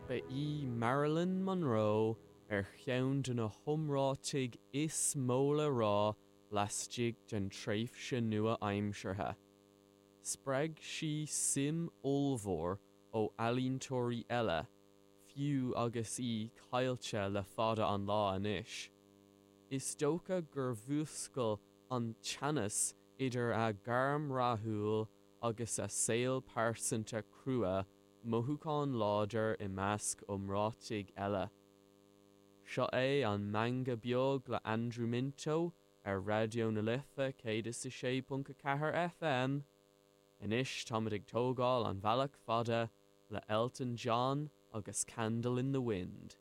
Ba í Marilyn Monroe ar cheann de na hiomráitigh is mó le rá laistigh den tréimhse nua-aimseartha. Spreag sí suim ollmhór ó ealaíontóirí eile, fiú agus í caillte le fada an lá anois. Is dócha gur mhúscail an teannas idir a gairm rathúil agus a saol pearsanta crua mothúchán láidir i measc iomráitigh eile. Seo é an Meangadh Beag le Andrew Minto ar Raidió na Life 106.4 FM. Anois táimid ag tógáil an bhealach fada le Elton John agus Candle in the Wind.